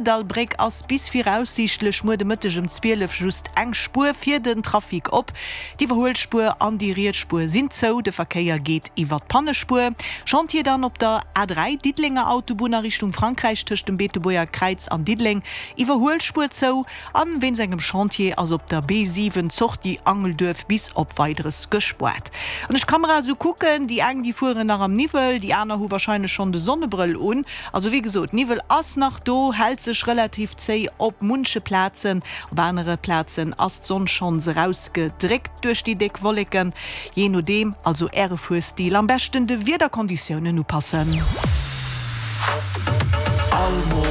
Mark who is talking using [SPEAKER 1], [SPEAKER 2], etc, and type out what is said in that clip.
[SPEAKER 1] Kordallbréck ass bis viraussiichtlech muer de Mëtteg ëm 12 just eng Spuer fir den Trafic op. D'Iwwerhuelspuer an déi riets Spuer sinn zou, de Verkéier geet iwwer d'Pannespuer. Chantier dann op der A3, Diddelenger Autobunn a Richtung Frankräich tëscht dem Beetebuerger Kräiz an Diddeleng, Iwwerhuelspuer zou. An wéinst engem Chantier ass op der B7 d'Sortie Angelduerf bis op Weideres gespoart. Wann ech d'Kamera esou kucken, déi eng déi fueren nach am Niwwel, déi aner hu warscheinlech schonn de Sonnebrëll un. Also wéi gesot, Niwwel ass nach do, hält sech relativ zéi op munche Plazen. Op anere Plazen ass d'Sonn schonns erausgedréckt duerch déi déck Wolleken. Jee nodeem also Äre Fuerstil am beschten de Wiederkonditiounen upassen.
[SPEAKER 2] All.